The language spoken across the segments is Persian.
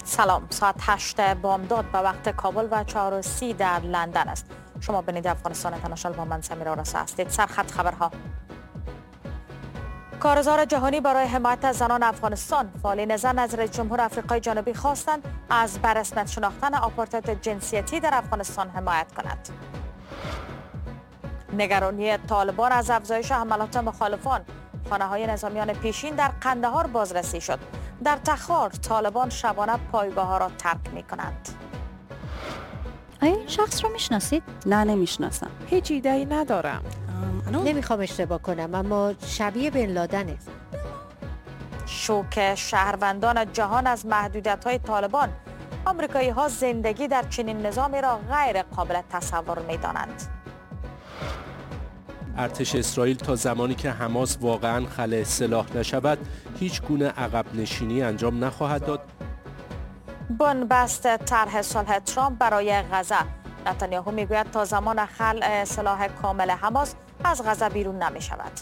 سلام، ساعت 8 بامداد به وقت کابل و 4:30 در لندن است. شما بیننده افغانستان اینترنشنال با من سمیرا رسا هستید. سرخط خبرها: کارزار جهانی برای حمایت از زنان افغانستان. فعالین زن از رئیس جمهور آفریقای جنوبی خواستند از برسمیت شناختن آپارتاید جنسیتی در افغانستان حمایت کند. نگرانی طالبان از افزایش حملات مخالفان. خانه های نظامیان پیشین در قندهار بازرسی شد. در تخار طالبان شبانه پایگاه ها را ترک می کنند. آیا این شخص رو میشناسید؟ نه، نمیشناسم. هیچ ایده ای ندارم. نمیخوام اشتباه کنم، اما شبیه بن لادنه. شوک شهروندان جهان از محدودیت های طالبان. آمریکایی ها زندگی در چنین نظامی را غیر قابل تصور می دانند. ارتش اسرائیل تا زمانی که حماس واقعا خلع سلاح نشود، هیچ گونه عقب نشینی انجام نخواهد داد. بنبست طرح صلح ترامپ برای غزه. نتانیاهو میگوید تا زمان خلع سلاح کامل حماس از غزه بیرون نمی شود.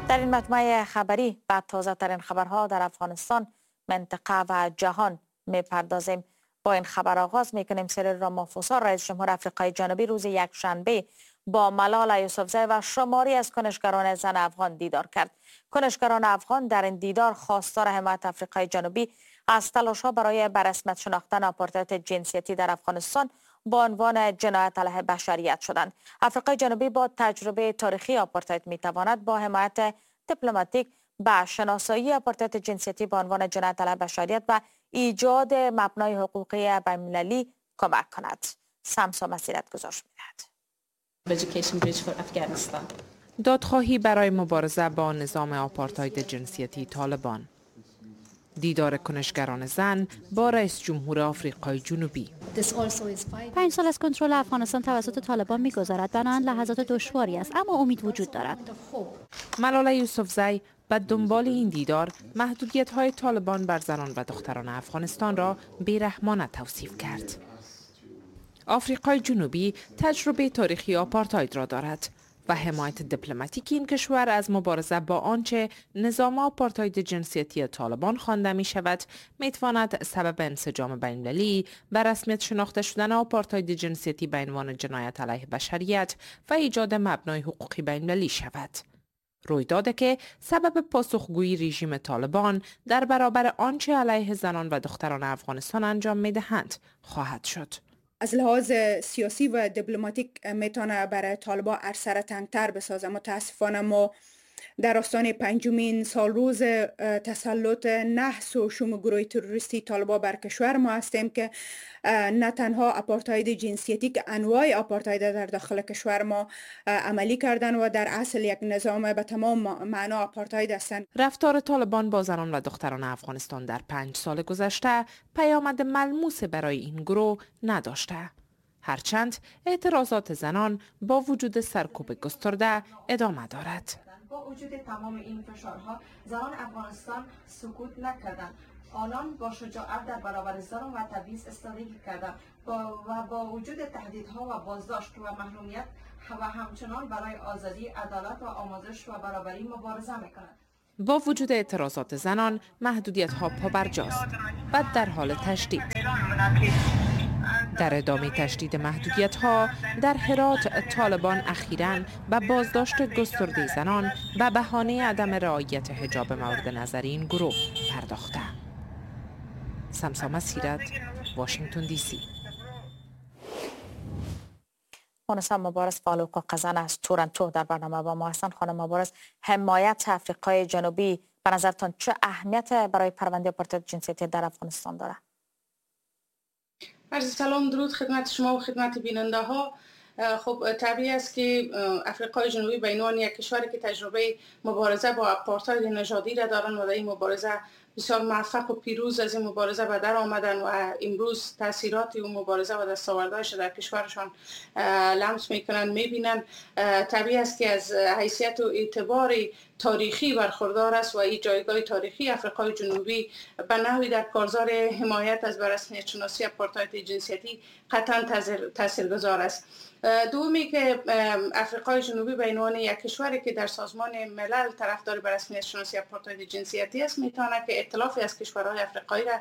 در این مجموعه خبری به تازه ترین خبرها در افغانستان، منطقه و جهان می پردازیم. با این خبر آغاز میکنیم. سیریل رامافوسا، رئیس جمهور افریقای جنوبی، روز یکشنبه با ملاله یوسفزی و شماری از کنشگران زن افغان دیدار کرد. کنشگران افغان در این دیدار خواستار حمایت افریقای جنوبی از تلاش‌ها برای برسمیت شناختن آپارتاید جنسیتی در افغانستان با عنوان جنایت علیه بشریت شدند. افریقای جنوبی با تجربه تاریخی آپارتاید میتواند با حمایت دیپلماتیک به شناسایی آپارتاید جنسیتی به عنوان جنایت علیه بشریت و ایجاد مبنای حقوقی بین‌المللی کمک کند. سمسا مسیرت گزارش میدهد. دادخواهی برای مبارزه با نظام آپارتاید جنسیتی طالبان. دیدار کنشگران زن با رئیس جمهور آفریقای جنوبی. 5 سال از کنترل افغانستان توسط طالبان میگذرد. بنابراین لحظات دشواری است، اما امید وجود دارد. ملاله یوسفزی به دنبال این دیدار محدودیت های طالبان بر زنان و دختران افغانستان را بیرحمانه توصیف کرد. آفریقای جنوبی تجربه تاریخی آپارتاید را دارد و حمایت دیپلماتیک این کشور از مبارزه با آنچه نظام آپارتاید جنسیتی طالبان خوانده می شود، می تواند سبب انسجام بین‌المللی و رسمیت شناخته شدن آپارتاید جنسیتی به عنوان جنایت علیه بشریت و ایجاد مبنای حقوقی بین‌المللی شود. رویدادی که سبب پاسخگویی رژیم طالبان در برابر آنچه علیه زنان و دختران افغانستان انجام می دهند خواهد شد. از لحاظ سیاسی و دیپلماتیک میتونه برای طالبا عرصه را تنگتر بسازه. متاسفانه ما در آستانه پنجمین سال روز تسلط نحس و شوم گروه تروریستی طالبا بر کشور ما هستیم که نه تنها اپارتاید جنسیتی که انواع اپارتاید در داخل کشور ما عملی کردن و در اصل یک نظام به تمام معنا اپارتاید هستند. رفتار طالبان با زنان و دختران افغانستان در 5 سال گذشته پیامد ملموس برای این گروه نداشته. هرچند اعتراضات زنان با وجود سرکوب گسترده ادامه دارد. با وجود تمام این فشارها، زنان افغانستان سکوت نکردند. آنان با شجاعت در برابر ظلم و تبعیض ایستادگی کردند و با وجود تهدیدها و بازداشت و محرومیت و همچنان برای آزادی، عدالت و آموزش و برابری مبارزه میکنند. با وجود اعتراضات زنان، محدودیت ها پابرجاست و در حال تشدید. در ادامه تشدید محدودیت ها در هرات، طالبان اخیرا به بازداشت گسترده زنان به بهانه عدم رعایت حجاب مورد نظر این گروه پرداخته. سمسا سیرت، واشنگتن دی سی. مونسا مبارز، فعال حقوق زن، از تورنتو در برنامه با ما هستند. خانم مبارز، حمایت افریقای جنوبی به نظرتان چه اهمیت برای پرونده آپارتاید جنسیتی در افغانستان داره؟ عرض سلام، درود خدمت شما و خدمت بیننده ها. خب، طبیعی است که افریقای جنوبی به عنوان یک کشوری که تجربه مبارزه با اپارتاید نژادی را دارن و در این مبارزه بسیار موفق و پیروز از این مبارزه به در آمدن و امروز تاثیرات او مبارزه و دستاوردهایش در کشورشان لمس میکنن، میبینن، طبیعی است که از حیثیت و اعتبار تاریخی برخوردار است و این جایگاه تاریخی افریقای جنوبی به نحوی در کارزار حمایت از برسمیت شناسی اپارتاید جنسیتی قطعا تاثیرگذار است. دومی که افریقای جنوبی به عنوان یک کشوری که در سازمان ملل طرفدار به رسمیت شناسی اپارتاید جنسیتی است، میتونه که ائتلافی از کشورهای افریقایی را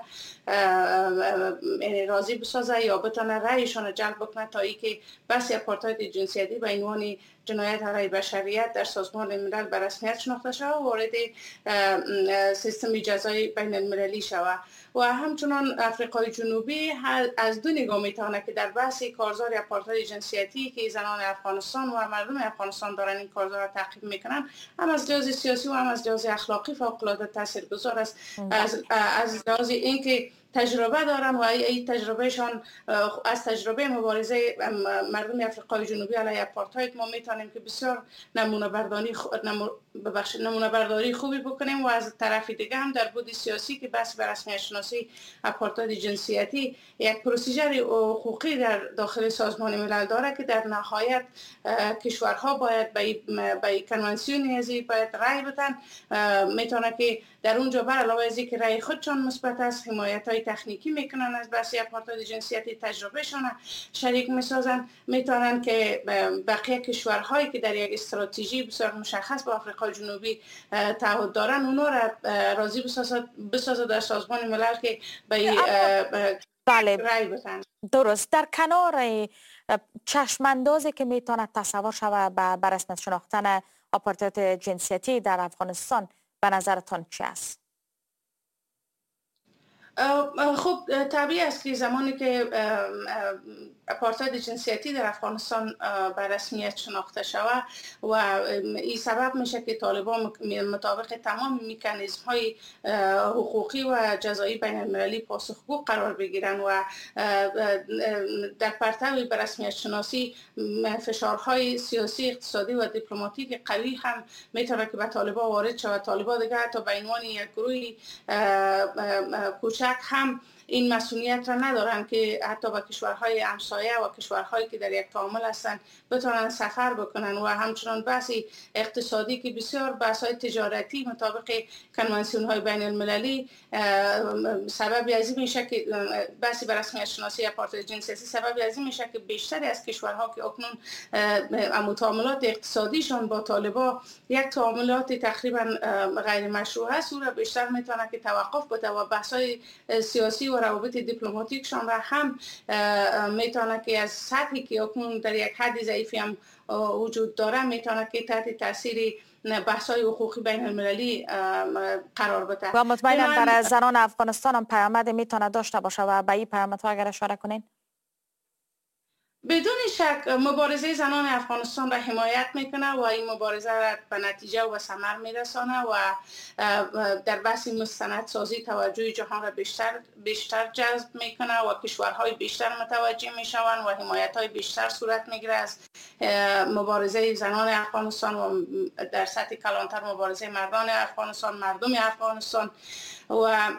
راضی بسازه یا بتونه رأیشان را جلب بکنه تا اینکه بحث آپارتاید جنسیتی به عنوان جنایت علیه بشریت در سازمان ملل به رسمیت شناخته شود و وارد سیستم جزای بین المللی شود. و همچنان افریقای جنوبی از دو نگاه میتونه که در بحث کارزار آپارتاید جنسیتی که زنان افغانستان و مردم افغانستان دارن این کارزار را تعقیب میکنن، هم از لحاظ سیاسی و هم از لحاظ اخلاقی فوق العاده تاثیرگذار است. از لحاظ اینکه تجربه دارن و این تجربهشان از تجربه مبارزه مردم افریقای جنوبی علیه آپارتاید ما میتونیم که بسیار نمونه برداری خوبی بکنیم و از طرف دیگه هم در بود سیاسی که بس به رسمیت شناسی آپارتاید جنسیتی یک پروسیجر حقوقی در داخل سازمان ملل داره که در نهایت کشورها باید به کنوانسیون ازی باید رأی بدن. میتونه که در اونجا بر علاوه از اینکه رأی خودشان مثبت است، حمایت های تکنیکی میکنن از بحث آپارتاید جنسیتی، تجربهشان شریک میسازن، میتونن که بقیه کشورهایی که در یک استراتژی بسیار مشخص با آفریقای جنوبی تعهد دارن اونا را راضی بسازد در سازمان ملل که به بله رأی بدن. درست. در کنار چشماندازی که میتونه تصور شود به رسمیت شناختن آپارتاید جنسیتی در افغانستان، به نظرتان چی است؟ خب طبیعی است که زمانی که آپارتاید جنسیتی در افغانستان به رسمیت شناخته شود و این سبب میشه که طالبان مطابق تمام مکانیزم های حقوقی و جزایی بین المللی پاسخگو قرار بگیرن و در پرتو به رسمیت شناسی فشارهای سیاسی، اقتصادی و دیپلماتیک قوی هم میتونه که به طالبان وارد شود. طالبان دیگه حتی به عنوان یک گروه کوچک هم این مسئولیت را ندارن که حتی با کشورهای همسایه و کشورهایی که در یک تعامل هستند بتونن سفر بکنن و همچنان بحث اقتصادی که بسیار بحث‌های تجارتی مطابق کنوانسیون‌های بین المللی سبب از این میشه که بحث به رسمیت شناسی آپارتاید جنسیتی سبب از این میشه که بیشتری از کشورها که اکنون تعاملات اقتصادیشان با طالبان یک تعاملات تقریبا غیر مشروع هست، او را بیشتر میتونه که توقف بده و بحث‌های سیاسی و روابط دیپلماتیکشان را هم میتونه که از سطحی که اکنون در یک حد ضعیفی هم وجود داره میتونه که تحت تاثیر بحث‌های حقوقی بین المللی قرار بده. و مطمئنا برای زنان افغانستان هم پیامد میتونه داشته باشه و به این پیامدها اگر اشاره کنین. بدون شک مبارزه زنان افغانستان را حمایت میکنه و این مبارزه را به نتیجه و به ثمر میرسانه و در بحث مستندسازی توجه جهان را بیشتر جذب میکنه و کشورهای بیشتر متوجه میشوند و حمایت های بیشتر صورت میگیره از مبارزه زنان افغانستان و در سطح کلانتر مبارزه مردان افغانستان، مردم افغانستان و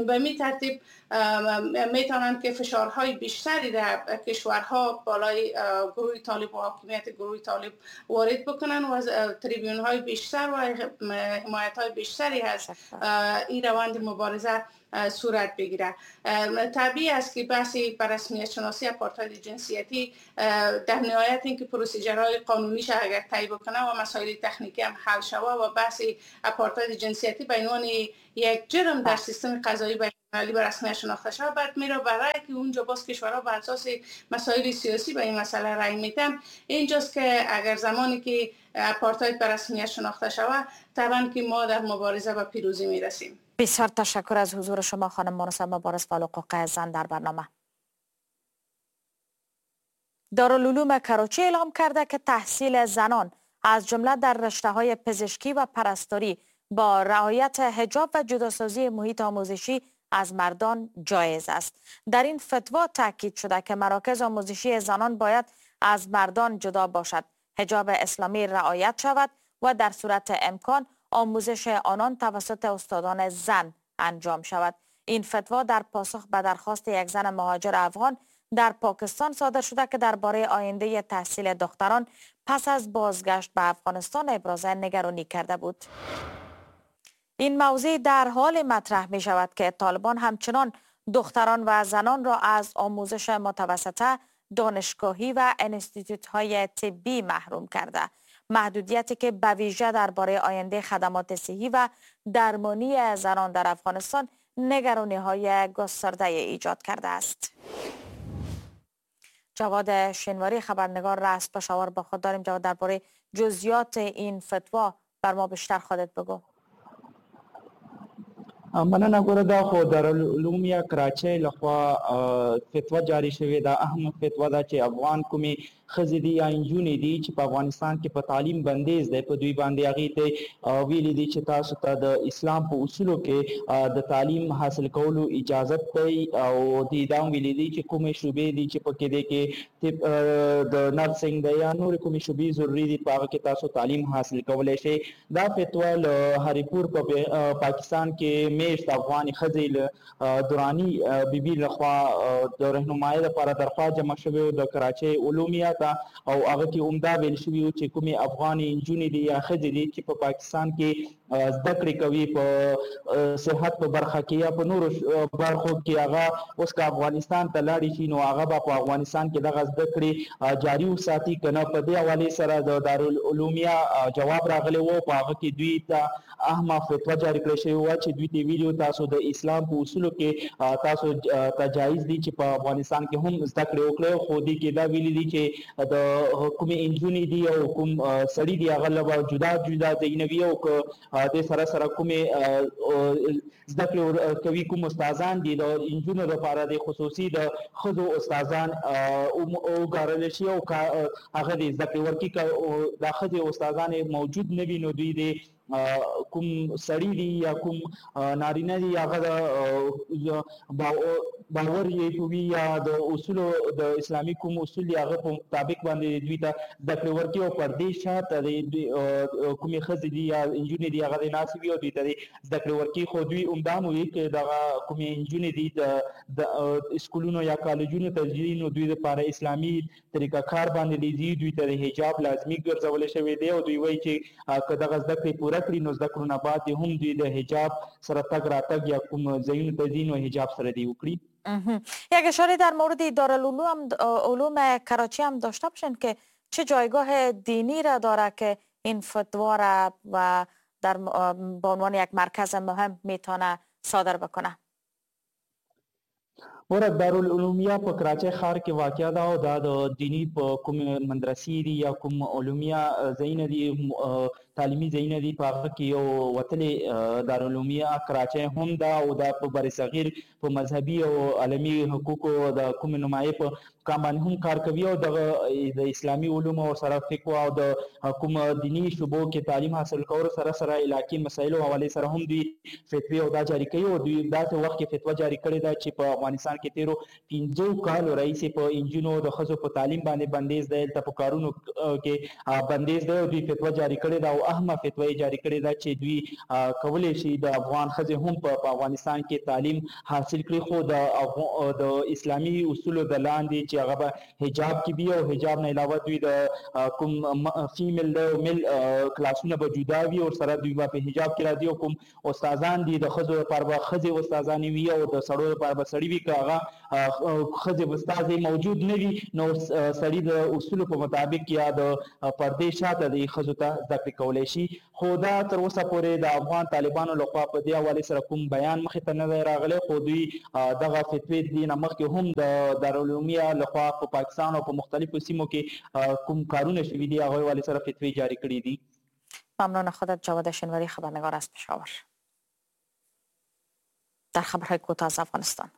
به می ترتیب میتونند که فشارهای بیشتری در کشورها بالای گروه طالب و حاکمیت گروه طالب وارد بکنن و از تریبیون های بیشتر و حمایت های بیشتری از این روند مبارزه صورت بگیره. طبیعی است که بحث بر رسمیت شناسی آپارتاید جنسیتی در نهایت اینکه پروسیجرهای قانونیش اگر طی بکنه و مسائل تکنیکی هم حل شوه و بحث آپارتاید جنسیتی به عنوان یک جرم در سیستم قضایی بین‌المللی به رسمیت شناخته شود، بعد میره برای که اونجا باز کشورها بر اساس مسائل سیاسی به این مسئله رأی میدن. اینجاست که اگر زمانی که آپارتاید به رسمیت شناخته شود، طبعا که ما در مبارزه به پیروزی میرسیم. بسیار تشکر از حضور شما خانم مونسه مبارز فعال حقوق زن در برنامه. دارالعلوم کراچی اعلام کرده که تحصیل زنان از جمله در رشته‌های پزشکی و پرستاری با رعایت حجاب و جداسازی محیط آموزشی از مردان جایز است. در این فتوا تاکید شده که مراکز آموزشی زنان باید از مردان جدا باشد، حجاب اسلامی رعایت شود و در صورت امکان آموزش آنان توسط استادان زن انجام شود. این فتوا در پاسخ به درخواست یک زن مهاجر افغان در پاکستان صادر شده که درباره آینده تحصیل دختران پس از بازگشت به افغانستان ابراز نگرانی کرده بود. این موضوع در حال مطرح می شود که طالبان همچنان دختران و زنان را از آموزش متوسطه، دانشگاهی و انستیتوت های طبی محروم کرده. محدودیتی که به ویژه درباره آینده خدمات صحی و درمانی زنان در افغانستان نگرانی‌های گسترده ایجاد کرده است. جواد شنواری خبرنگار را از پشاور با خود داریم. جواد، درباره جزئیات این فتوا بر ما بیشتر خودت بگو. مننه ګوره، دا خو دارالعلوم یا کراچۍ لخوا فتوا جاری شوې ده. اهمه فتوا ده چې افغان کومې ښځې دي یا نجونې دي چې په افغانستان کې په تعلیم بندیز دی په دوی باندې، هغې ته ویلي دي چې تاسو ته د اسلام په اصولو کې د تعلیم حاصل کولو اجازت دی، او دوی دا هم ویلي دي چې کومې شعبې دي چې پکې دی کې د نرسنګ دی یا نورې کومې شعبې ضروري دي په هغه کې تاسو تعلیم حاصل کولی شئ. دا فتوا له هریپور په پاکستان کې میشت افغان ښځې له دراني بیبي لخوا د رهنمایۍ لپاره درخواست جمع شوی د کراچۍ علومیه ته، او هغه کې عمده ویل شوي وو چې کومې افغانې نجونې دي یا ښځې دي چې په پاکستان کې زده کړې کوي په صحت په برخه کې یا په نورو برخو کې، هغه اوس که افغانستان ته لاړې شي نو هغه به په افغانستان کې دغه زده کړې جاري وساتي که نه. په دې حوالې سره د دارالعلومیه جواب راغلی و، په هغه کې دوی ته اهمه فتوا جاري کړې شوې وه چې دوی ته ویلي تاسو د اسلام په اصولو کې تاسو ته جایز دي چې په افغانستان کې هم زده کړې وکړئ، خو دې کې دا ویلي دي چې د کومې نجونې دي او کوم سړي دي هغه له به جدا جدا ځایونه وي، او که دې سره سره کومې زده کړې کوي کوم استادان دي د نجونو لپاره د خصوصي د ښځو استادان وګارل شي او هغه دې زده کړې ورکړي. که دا ښځې استادان موجود نه وي نو دوی دې کوم سړي دي یا کوم نارینه دي هغه د باور یې کوي یا د اصولو د اسلامي کوم اصول دي هغه په مطابق باندې دوی ته زده کړې ورکړي، او پر دې شاته د کومې ښځې دي یا نجونې دي هغه دې ناستې وي او دوی ته دې زده کړې ورکړي. خو دوی همدا هم وي که دغه کومې نجونې دي د سکولونو یا کالجونو ته ځي نو دوی لپاره اسلامي طریقه کار باندې ځي، دوی ته د حجاب لازمي ګرځول شوی دی، او دوی وایي چې که دغه زده کړې پوره کړي نو زده کړو نه بعد هم دوی د حجاب سره تګ راتګ یا کوم ځایونو ته ځي نو حجاب سره دی وکړي. یک اشاره در مورد دارالعلوم علوم کراچی هم داشته باشین که چه جایگاه دینی را داره که این فتوا را و در به عنوان یک مرکز مهم میتونه صادر بکنه. ګوره، دارالعلومیه په کراچۍ ښار کې واقع ده، او دا د دیني په کوم مدرسې دي یا کوم علومیه ځایونه دي تعلیمي ځایونه دي په هغه کې یو وتلې دارالعلومیه کراچۍ هم ده، او دا په برصغیر په مذهبي او عالمي حقوقو د کومې نمایې په مقام باندې هم کار کوي، او دغه د اسلامي علومو سره فقه او د کوم دیني شعبو کې تعلیم حاصل کولو سره سره علاقې مسایلو حوالې سره هم دوی فتوې او دا جاري کوي. او دوی داسې وخت کې فتوا جاري کړې ده چې په افغانستان کې تېرو 5 کالو راهیسې په نجونو د ښځو په تعلیم باندې بندیز دی، هلته په کارونو کې بندیز دی، او دوی فتوا جاري کړې ده، او اهمه فتوا یې جاري کړې ده چې دوی کولی شي د افغان ښځې هم په افغانستان کې تعلیم حاصل کړي، خو د اسلامي اصولو د لاندې چې هغه به حجاب کې وي، او حجاب نه علاوه دوی د کوم فیمیل دی او میل کلاسونه به جدا وي، او سره دوی به په حجاب کې راځي، او کوم استادان دي د ښځو لپاره به ښځې استادانې وي او د سړو لپاره به سړي وي. که هغه ښځې استادې موجود نه وي نو سړي د اصولو په مطابق یا د پردې شاته د ښځو ته زده کړې کولی شي. خو دا تر اوسه پورې د افغان طالبانو لخوا په دې حوالې سره کوم بیان مخې ته نه دی راغلی، خو دوی دغه فتوې دې نه مخکې هم د دارالعلومیه لخوا په پاکستان او په مختلفو سیمو کې کوم کارونه شوي دي هغې حوالې سره فتوې جاري کړې دي. ممنون خودت جواد شنواری خبرنگار از پشاور. در خبرهای کوتاه از افغانستان،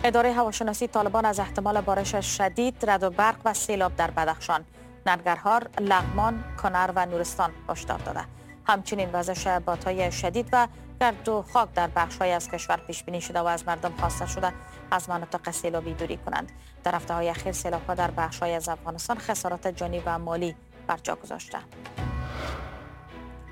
اداره هواشناسی طالبان از احتمال بارش شدید، رعد و برق و سیلاب در بدخشان، ننگرهار، لغمان، کنر و نورستان هشدار داده. همچنین وزش بادهای شدید و گرد و خاک در بخش‌های از کشور پیش بینی شده و از مردم خواسته شده از مناطق سیلابی دوری کنند. در هفته‌های اخیر سیلاب‌ها در بخش‌های از افغانستان خسارات جانی و مالی بر جا گذاشته.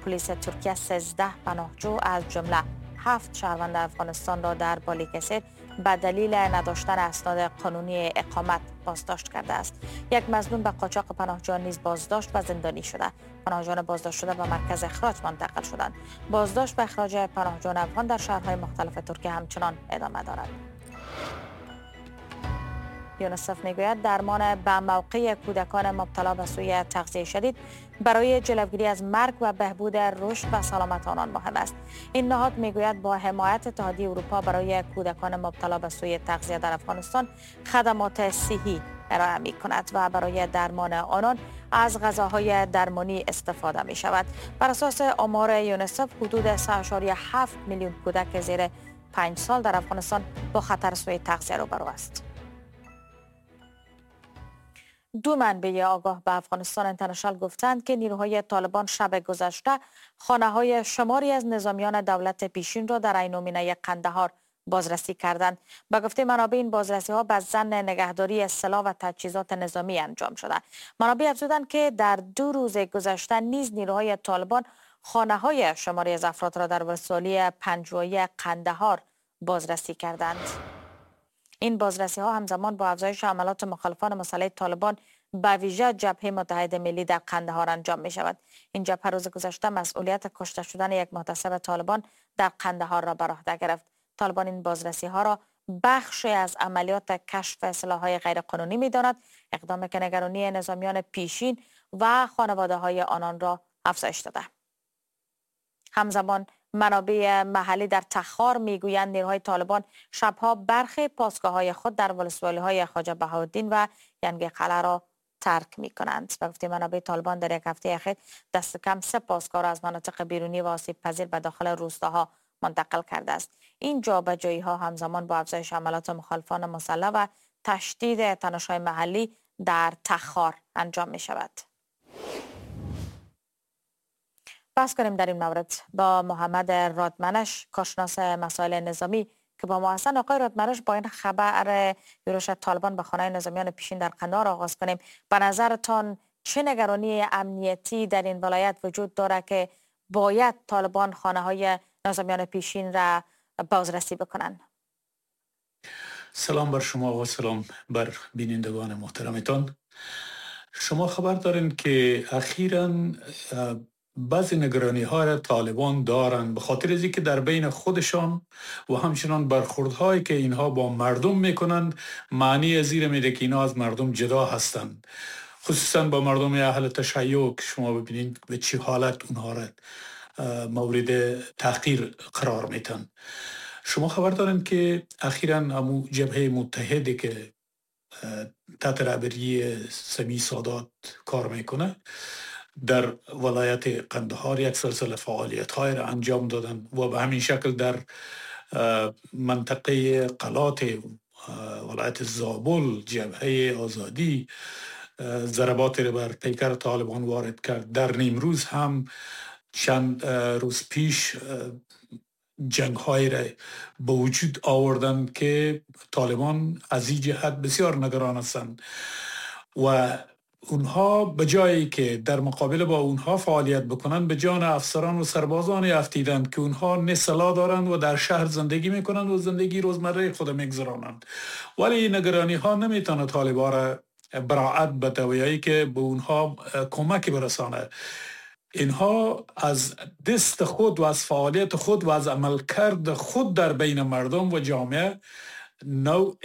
پلیس ترکیه 13 پناهجو از جمله 7 شهروند افغانستان را در بالیکسیر به دلیل نداشتن اسناد قانونی اقامت بازداشت کرده است. یک مظنون به قاچاق پناهجویان نیز بازداشت و زندانی شده. پناهجویان بازداشت شده به مرکز اخراج منتقل شدند. بازداشت و اخراج پناهجویان افغان در شهرهای مختلف ترکیه همچنان ادامه دارد. یونیسف میگوید درمان به موقع کودکان مبتلا به سوء تغذیه شدید برای جلوگیری از مرگ و بهبود رشد و سلامت آنان مهم است. این نهاد میگوید با حمایت اتحادیه اروپا برای کودکان مبتلا به سوء تغذیه در افغانستان خدمات صحی ارائه می کند و برای درمان آنان از غذاهای درمانی استفاده می شود. بر اساس آمار یونیسف حدود 3.7 میلیون کودک زیر 5 سال در افغانستان با خطر سوء تغذیه روبرو است. دو منبع آگاه به افغانستان اینترنشنال گفتند که نیروهای طالبان شب گذشته خانه های شماری از نظامیان دولت پیشین را در عینومینه قندهار بازرسی کردند. به گفته منابع این بازرسی ها به ظن نگهداری سلاح و تجهیزات نظامی انجام شده. منابع افزودند که در 2 روز گذشته نیز نیروهای طالبان خانه های شماری از افراد را در ولسوالی پنجوایی قندهار بازرسی کردند. این بازرسی ها همزمان با افزایش عملات مخالفان مسلح طالبان به ویژه جبهه متحد ملی در قندهار انجام می شود. این جبهه روز گذشته مسئولیت کشته شدن یک محتسب طالبان در قندهار را بر عهده گرفت. طالبان این بازرسی ها را بخشی از عملیات کشف سلاح‌های غیرقانونی می داند، اقدام که نگرانی نظامیان پیشین و خانواده های آنان را افزایش داده. همزمان منابع محلی در تخار میگویند نیروهای طالبان شبها برخی پاسگاه‌های خود در ولسوالی‌های خواجه بهاءالدین و ینگ قلعه را ترک می‌کنند. به گفته منابع طالبان در یک هفته اخیر دست کم 3 پاسگاه را از مناطق بیرونی و آسیب پذیر به داخل روستاها منتقل کرده است. این جابجایی‌ها همزمان با افزایش عملیات مخالفان مسلح و تشدید تنش‌های محلی در تخار انجام می‌شود. بحث کنیم در این مورد با محمد رادمنش، کارشناس مسائل نظامی که با ما هستن. آقای رادمنش، با این خبر یورش طالبان به خانه نظامیان پیشین در قندهار آغاز کنیم. به نظرتان چه نگرانی امنیتی در این ولایت وجود داره که باید طالبان خانه های نظامیان پیشین را بازرسی بکنن؟ سلام بر شما و سلام بر بینندگان محترمتان. شما خبر دارین که اخیراً بعضی نگرانی ها را طالبان دارند به خاطر از اینکه در بین خودشان و همچنان برخوردهایی که اینها با مردم میکنند معنی از این میده که اینها از مردم جدا هستند، خصوصا با مردم اهل تشیع که شما ببینید به چه حالت اونها را مورد تحقیر قرار میتن. شما خبر دارین که اخیراً امو جبهه متحده که تحت رهبری سمی سادات کار میکنه در ولایت قندهار یک سلسله فعالیت های را انجام دادن و به همین شکل در منطقه قلات ولایت زابل جبهه آزادی ضربات را بر پیکر طالبان وارد کرد. در نیمروز هم چند روز پیش جنگ های را به وجود آوردند که طالبان از این جهت بسیار نگران هستند و اونها به جایی که در مقابل با اونها فعالیت بکنند به جان افسران و سربازان افتیدند که اونها نه سلاح دارند و در شهر زندگی میکنند و زندگی روزمره خود میگذرانند. ولی این نگرانی ها نمیتونه طالبان را براعت بده و یا که به اونها کمک برسانه. اینها از دست خود و از فعالیت خود و از عملکرد خود در بین مردم و جامعه نوع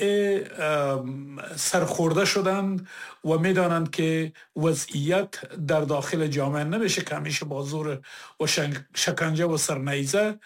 سرخورده شدند و میدانند که وضعیت در داخل جامعه نمیشه که همیشه با زور و شکنجه و سرنیزه